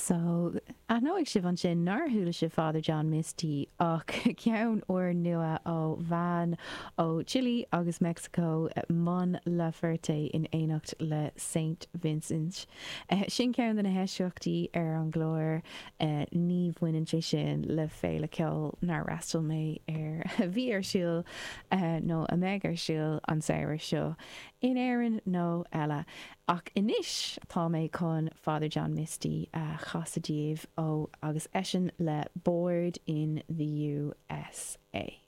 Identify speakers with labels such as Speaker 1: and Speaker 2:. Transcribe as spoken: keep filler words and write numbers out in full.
Speaker 1: So aithneoidh sibh ansin nár chuala sibh Father John Misty ach ceann úrnua ó bhean ó Chile agus Mexico Mon Laferte in éineacht le Saint Vincent. Sin ceann de na heisceachtaí ar an gclár ní bhaineann sé sin le féile ceoil nár fhreastail mé ar a bhí ar siúl nó a mbeidh ar siúl an samhradh seo in Éirinn nó eile. Ach anois tá mé chun Father John Misty a chasadh daoibh ó agus eisean le Bored in the USA.